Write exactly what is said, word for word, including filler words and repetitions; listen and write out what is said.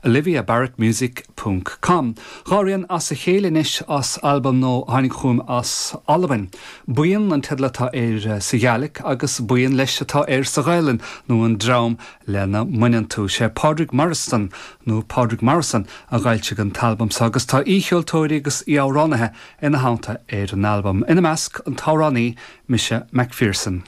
Olivia Barrett Music ponc com. Dhá rian as a chéile anois as albam nua a tháinig chugam as Albain. Buíon an teideal atá air sa Ghàidhlig agus buíon leis atá air sa Ghaelainn nó an dream lena mbaineann tú. Sé Pádraig Moireasdan nó Pádraig Morrison a d'fhoilsigh an t-albam seo agus tá aoicheoltóirí agus aoiamhránaithe ina theannta ar an albam. Ina measc an t-amhránaí Mise McPherson.